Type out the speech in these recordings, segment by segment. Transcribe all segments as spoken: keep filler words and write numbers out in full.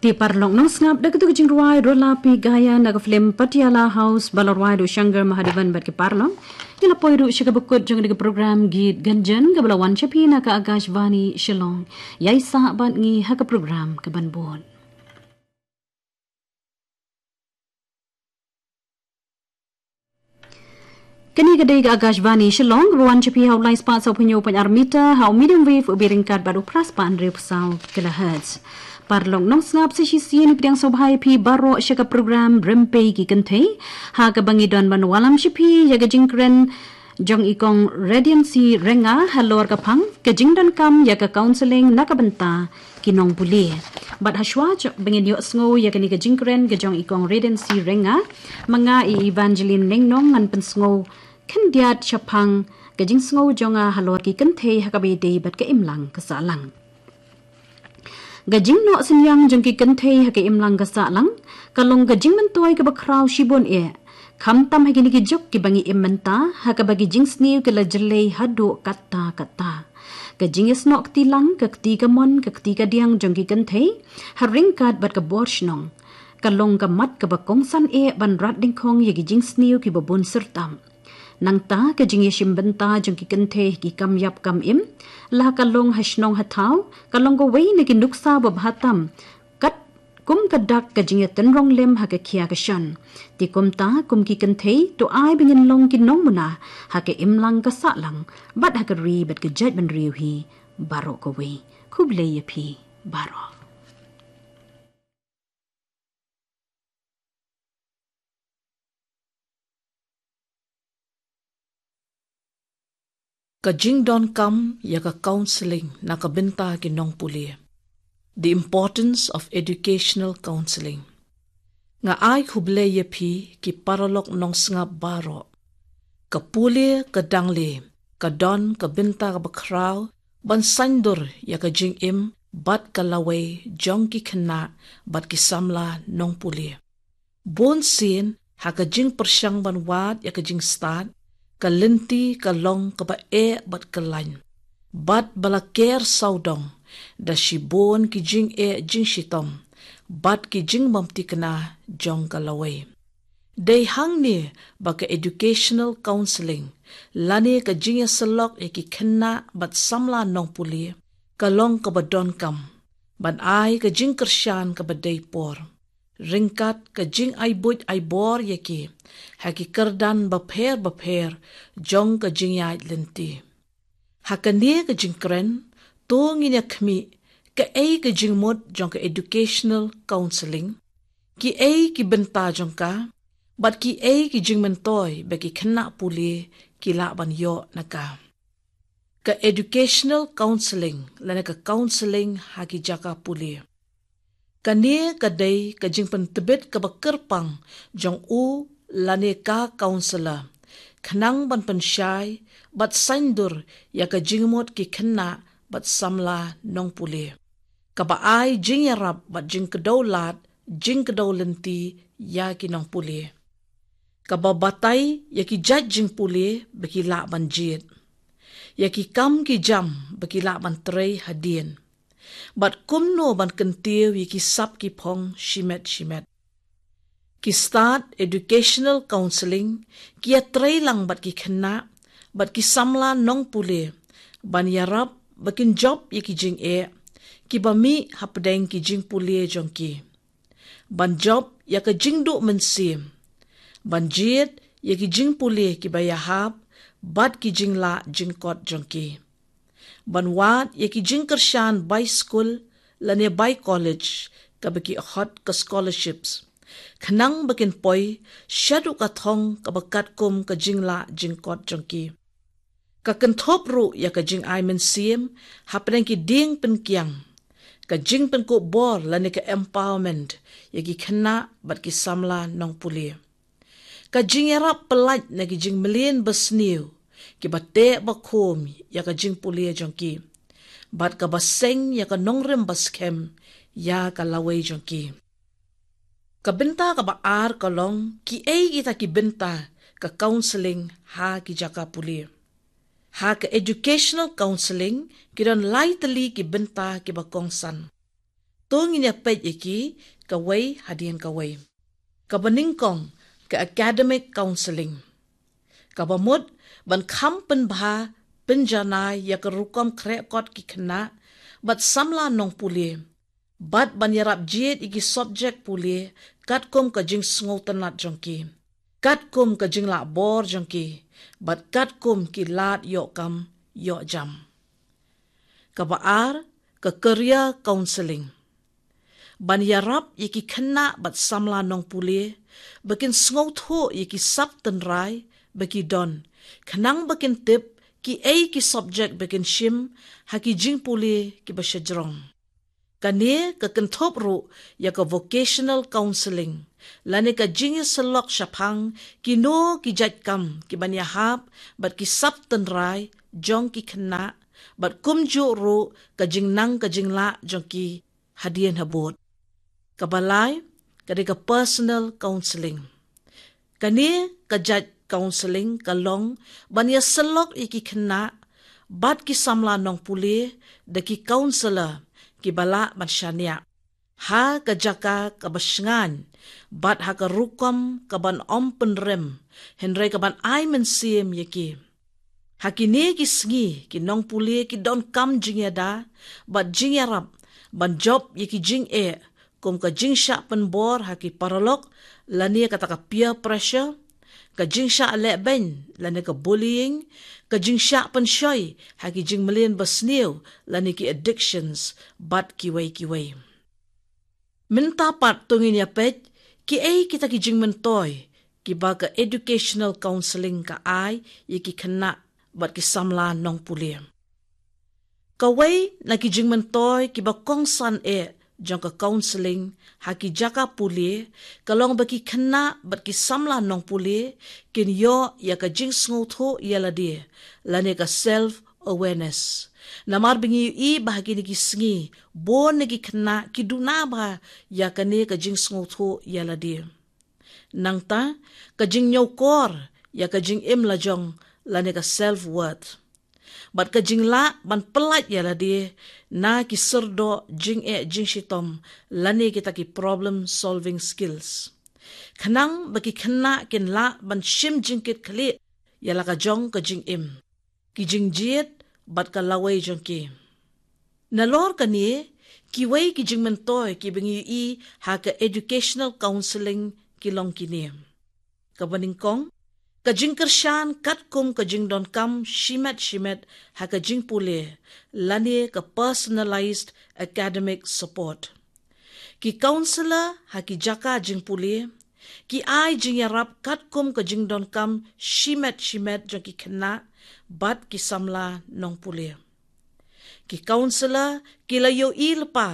Te paralok nongsngap, da katu ka jingrwai Rola Pi Gaia na ka film Patiala House ba la rwai da u Shankar Mahadevan bad ki paralok, ngi la poi ruh sha kaba kut jong kane ka program Geet Gunjan kaba la wan sha phi na ka Akashvani Shillong. Ïai sah bad ngi ha ka program kaban bud. Kane ka dei ka Akashvani Shillong, kaba wan sha phi ha u lai spah saw phew hynñiew point ar meter ha u medium wave, u byrngkat bad u phra spah hynriew phew saw kilohertz. Paralok nongsngap, sa shisien ngi pdiang sngewbha ïa phi baroh sha ka program Rympei ki Kynthei, ha kaba ngi don ban wallam sha phi ïa ka jingkren jong i Kong Radiancy Rynga halor ka phang ka jingdonkam ïa ka counselling na ka bynta ki nongpule. Bad hashwa jong ba ngin ïohsngew ïa kane ka jingkren ka jong i Kong Radiancy Rynga, ma nga i Evangeline Nongnong ngan pynsngew khyndiat shaphang ka jingsngew jong nga halor ki kynthei ha kaba ïadei bad ka imlang ka sahlang. Ka jingnoh synñiang jong ki kynthei ha ka imlang ka sahlang ka long ka jingmyntoi kaba khraw shibun eh, khamtam ha kine ki juk kiba ngi im mynta, ha kaba ki jingsniew ki la jyllei haduh katta katta. Ka jingïasnoh kti lang, ka kti kamon, ka kti kadiang jong ki kynthei ha ryngkat bad ka bor shnong, ka long ka mat kaba kongsan eh ban rat dyngkhong ïa ki jingsniew kiba bun syrtam. Nangta ka jingïashim bynta jong ki kynthei ha ki kam ïap kam im, la ka long ha shnong ha thaw, ka long kawei na ki nuksa babha tam, katkum ka dak ka jingïatynrong lem ha ka khia ka shon. Te kumta, kum ki kynthei, to ai ba ngin long ki nongmuna ha ka imlang ka sahlang, bad ha ka ri bad ka jaitbynriew hi baroh kawei. Khublei ïa phi baroh. Ka jingdonkam ïa ka counselling na ka bynta ki nongpule. The importance of educational counselling. Nga ai khublei ïa phi ki paralok nongsngap baroh. Ka pule ka dang leh, ka don ka bynta kaba khraw ban saiñdur ïa ka jingim bad ka lawei jong ki khynnah bad ki samla nongpule. Bun sien ha ka jingpyrshang ban wad ïa ka jingstad, ka lynti ka long kaba eh bad kyllain, bad ba la ker sawdong da shibun ki jingeh jingshitom bad ki jingbymthikna jong ka lawei. Dei hangne ba ka educational counselling, lane ka jingïasyllok ïa ki khynnah bad samla nongpule, ka long kaba donkam ban ai ka jingkyrshan kaba dei por, ryngkat ka jingai buit ai bor ïa ki ha ki kyrdan bapher bapher jong ka jingïaid lynti. Ha kane ka jingkren, to ngin ïa khmih kaei ka jingmut jong ka educational counselling, kiei ki bynta jong ka, bad kiei ki jingmyntoi ba ki khynnah pule ki lah ban ïoh na ka. Ka educational counselling lane ka counselling ha ki jaka pule. Kane ka dei ka jingpyntbit kaba kyrpang jong u lane ka counselor, khnang ban pynshai bad saiñdur ïa ka jingmut ki khynnah bad samla nongpule, kaba ai jingïarap bad jingkdew lad, jingkdew lynti ïa ki nongpule, kaba batai ïa ki jait jingpule ba ki lah ban jied, ïa ki kam ki jam ba ki lah ban trei hadien, bad kumno ban kyntiew ïa ki sap ki phong shimet shimet. Ki stad educational counselling ki ïatrei lang bad ki khynnah bad ki samla nongpule ban ïarap ba kin jop ïa ki jingeh kiba mih hapdeng ki jingpule jong ki, ban jop ïa ka jingduh mynsiem, ban jied ïa ki jingpule kiba ïahap bad ki jinglah jingkot jong ki, ban wad ïa ki jingkyrshan bai skul lane bai college kaba ki hot ka scholarships, khnang ba kin poi shaduh ka thong kaba katkum ka jinglah jingkot jong ki. Ka kynthup ruh ïa ka jingai mynsiem hapdeng ki dieng pynkiang, ka jingpynkup bor lane ka empowerment ïa ki khynnah bad ki samla nongpule, ka jingïarap pyllait na ki jingmlien basniew kiba teh bakhum ïa ka jingpule jong ki, bad kaba seng ïa ka nongrim baskhem ïa ka lawei jong ki. Ka bynta kaba ar ka long kiei kita ki bynta ka counselling ha ki jaka pule. Ha ka educational counselling ki don lai tylli ki bynta kiba kongsan. to ngin ïa peit ïa ki kawei hadien kawei. Kaba nyngkong, ka academic counselling. Kaba mut ban kham pynbha pynjanai ïa ka rukom khreh kot ki khynnah bad samla nongpule, bad ban ïarap jied ïa ki subject pule katkum ka jingsngewtynnat jong ki, katkum ka jinglak bor jong ki, bad katkum ki lad ïoh kam ïoh jam. Kaba ar, ka career counselling. Ban ïarap ïa ki khynnah bad samla nongpule ba kin sngewthuh ïa ki sap tynrai ba ki don, khnang ba kin tip kiei ki subject ba kin shim ha ki jingpule kiba shajrong. Kane ka kynthup ruh ïa ka vocational counselling, lane ka jingïasyllok shaphang kino ki jait kam kiban ïahap bad ki sap tynrai jong ki khynnah, bad kumjuh ruh ka jingnang ka jinglah jong ki hadien habud. Kaba lai, ka dei ka personal counselling. Kane ka jait counselling ka long ban ïasyllok ïa ki khynnah bad ki samla nongpule da ki counsellor kiba lah ban shaniah ha ka jaka kaba shngaiñ bad ha ka rukom kaban ym pynrem, hynrei kaban ai mynsiem ïa ki. Ha kine ki sngi, ki nongpule ki donkam jingïada bad jingïarap ban jop ïa ki jingeh kum ka jingshah pynbor ha ki paralok, lane kata ka peer pressure, ka jingshah lehbeiñ lane ka bullying, ka jingshah pynshoi ha ki jingmlien basniew lane ki addictions, bad kiwei kiwei. Mynta pat to ngin ïa peit kiei kita ki jingmyntoi kiba ka educational counselling ka ai ïa ki khynnah bad ki samla nongpule. Kawei na ki jingmyntoi kiba kongsan eh jong ka counselling ha ki jaka pule ka long ba ki khynnah bad ki samla nongpule kin ïoh ïa ka jingsngewthuh ïa lade, lane ka self awareness. Namar ba ngi ïohi ba ha kine ki sngi bun na ki khynnah ki duna bha ïa kane ka jingsngewthuh ïa lade. Nangta ka jingñiewkor ïa ka jingim lajong, lane ka self worth, bad ka jinglah ban pyllait ïa lade na ki syrdoh jingeh jingshitom, lane kita ki problem solving skills, khnang ba ki khynnah kin lah ban shim jingkitkhlieh ïa la ka jong ka jingim, ki jingjied bad ka lawei jong ki. Nalor kane, kiwei ki jingmyntoi kiba ngi ïohi ha ka educational counselling ki long kine. Kaba nyngkong, ka jingkyrshan katkum ka jingdonkam shimet shimet ha ka jingpule, lane ka personalized academic support. Ki counsellor ha ki jaka jingpule ki ai jingïarap katkum ka jingdonkam shimet shimet jong ki khynnah bad ki samla nongpule. Ki counsellor ki la ïohi lypa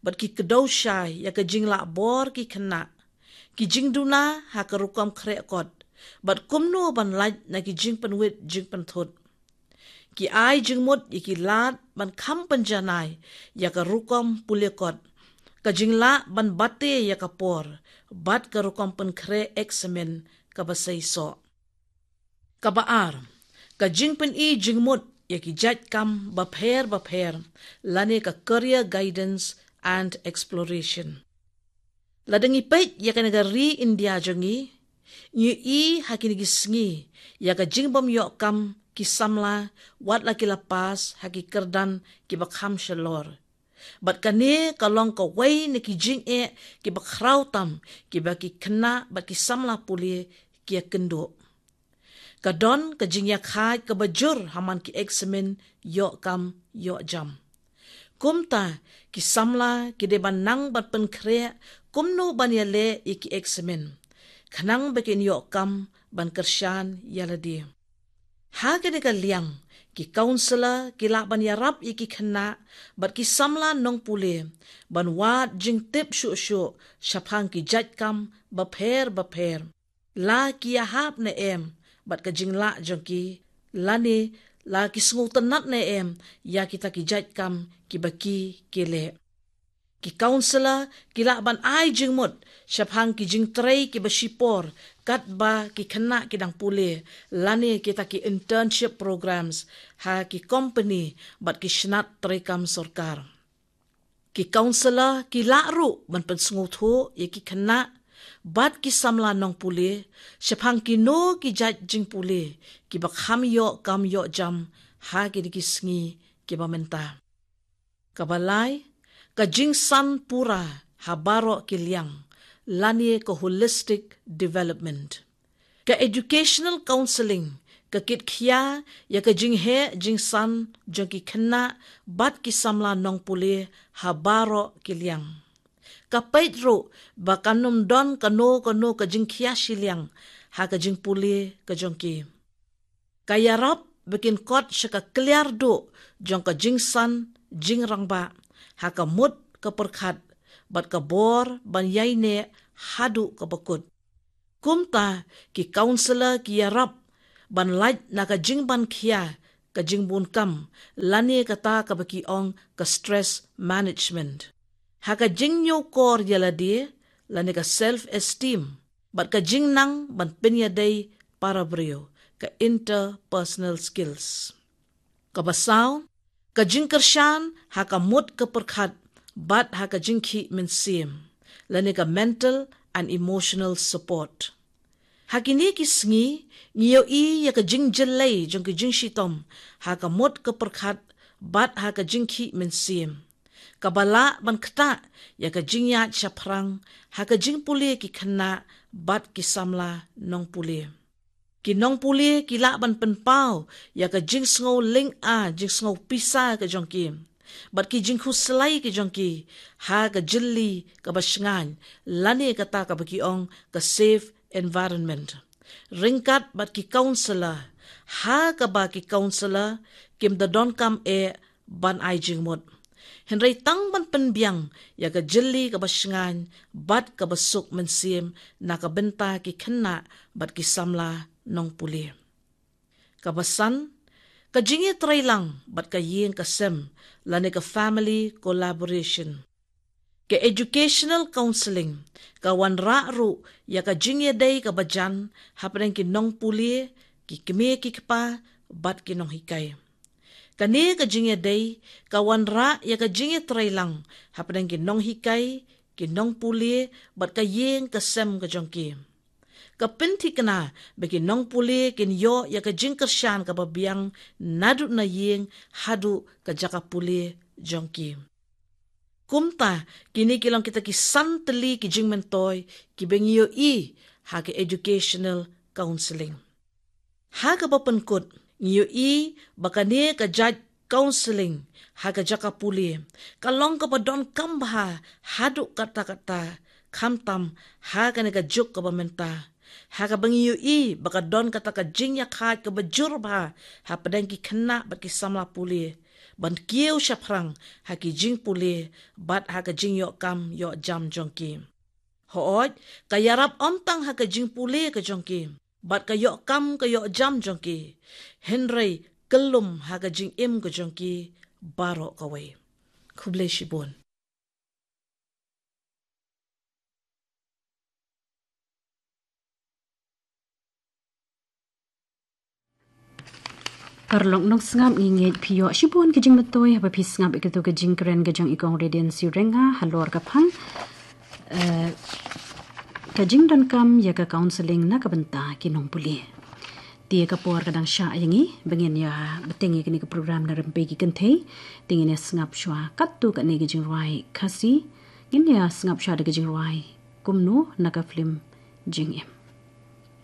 bad ki kdew shai ïa ka jinglah bor ki khynnah, ki jingduna ha ka rukom khreh kot, bad kumno ban lait na ki jingpynwit jingpynthut. Ki ai jingmut ïa ki lad ban kham pynjanai ïa ka rukom pule kot, ka jinglah ban bate ïa ka por, bad ka rukom pynkhreh eksamin kaba seisoh. Kaba ar, ka jingpyni jingmut ïa ki jait kam bapher bapher, lane ka career guidance and exploration. Lada ngi peit ïa kane ka ri India jong ngi, ngi ïohi ha kine ki sngi ïa ka jingbym ïoh kam ki samla wat la ki la pass ha ki kyrdan kiba kham shalor. Bad kane ka long kawei na ki jingeh kiba khraw tam kiba ki khynnah bad ki samla pule ki ïakynduh. Ka don ka jingïakhaid kaba jur ha man ki eksamin ïoh kam ïoh jam. Kumta, ki samla ki dei ban nang ban pynkhreh kumno ban ïaleh ïa ki eksamin, khnang ba kin ïoh kam ban kyrshan ïa lade. Ha kane ka liang, ki counsellor ki lah ban ïarap ïa ki khynnah bad ki samla nongpule ban wad jingtip shuh shuh shaphang ki jait kam bapher bapher, la ki ïahap ne em bad ka jinglah jong ki, lane la ki sngewtynnat ne em ïa kita ki jait kam kiba ki ki leh. Ki counsellor ki lah ban ai jingmut shaphang ki jingtrei kiba shipor katba ki khynnah ki dang pule, lane kita ki internship programs ha ki kompeni bad ki shnat treikam sorkar. Ki counsellor ki lah ruh ban pynsngewthuh ïa ki khynnah bad ki samla nongpule shaphang kino ki jait jingpule kiba kham ïoh kam ïoh jam ha kine ki sngi kiba mynta. Kaba lai, ka jingsan pura ha baroh ki liang, lane ka holistic development. Ka educational counselling ka kitkhia ïa ka jingheh jingsan jong ki khynnah bad ki samla nongpule ha baroh ki liang. Ka peit ruh ba kan ym don kano kano ka jingkhia shiliang ha ka jingpule ka jong ki. Ka ïarap ba kin kot sha ka kliar duh jong ka jingsan jingrangbah ha ka mut ka pyrkhat bad ka bor ban ïaineh haduh kaba kut. Kumta, ki counsellor ki ïarap ban lait na ka jingban khia ka jingbun kam, lane kata kaba ki ong ka stress management. Ha ka jingñiewkor ïa lade, lane ka self esteem, bad ka jingnang ban pynïadei para briew, ka interpersonal skills. Kaba saw, ka jingkyrshan ha ka mut ka pyrkhat bad ha ka jingkhih mynsiem, lane ka mental and emotional support. Ha kine ki sngi, ngi ïohi ïa ka jingjyllei jong ka jingshitom ha ka mut ka pyrkhat bad ha ka jingkhih mynsiem, kaba lah ban ktah ïa ka jingïaid shaphrang ha ka jingpule ki khynnah bad ki samla nongpule. Ki nongpule ki lah ban pynpaw ïa ka jingsngew lynga, jingsngew pisa ka jong ki, bad ki jingkhuslai ka jong ki ha ka jylli kaba shngaiñ, lane kata kaba ki ong ka safe environment, ryngkat bad ki counsellor, ha kaba ki counsellor kim da donkam eh ban ai jingmut, hynrei tang ban pynbiang ïa ka jylli kaba shngaiñ bad kaba suk mynsiem na ka bynta ki khynnah bad ki samla nongpule. Kaba san, ka jingïatreilang bad ka ïing ka sem, lane ka family collaboration. Ka educational counselling ka wanrah ruh ïa ka jingïadei kaba jan hapdeng ki nongpule, ki kmie ki kpa, bad ki nonghikai. Kane ka jingïadei ka wanrah ïa ka jingïatreilang hapdeng ki nonghikai, ki nongpule, bad ka ïing ka sem ka jong ki. Ka pynthikna ba ki nongpule kin ïoh ïa ka jingkyrshan kaba biang naduh na ïing haduh ka jaka pule jong ki. Kumta, kine ki long kita ki san tylli ki jingmyntoi kiba ngi ïohi ha ka educational counselling. Ha kaba pynkut, ngi ïohi ba kane ka jait counselling ha ka jaka pule ka long kaba donkam bha haduh katta katta, khamtam ha kane ka juk kaba mynta, ha kaba ngi ïohi ba ka don kata ka jingïakhaid kaba jur bha hapdeng ki khynnah bad ki samla pule ban kiew shaphrang ha ki jingpule bad ha ka jingïoh kam ïoh jam jong ki. Hooid, ka ïarap ym tang ha ka jingpule ka jong ki bad ka ïoh kam ka ïoh jam jong ki, hynrei kyllum ha ka jingim ka jong ki baroh kawei. Khublei shibun. Paralok nongsngap, ngi ngeit phi ïoh shibun ka jingmyntoi haba phi sngap ïa katu ka jingkren ka jong i Kong Radiance Syringa halor ka phang, eh, ka jingdonkam ïa ka counselling na ka bynta ki nongpule. Te ka por ka dang shah ïa ngi ba ngin ïa bteng ïa kane ka program na rympei ki kynthei. Te ngin ïa sngap shuwa katto katne ka jingrwai Khasi. Ngin ïa sngap shuwa da ka jingrwai Kumno na ka film Jingim.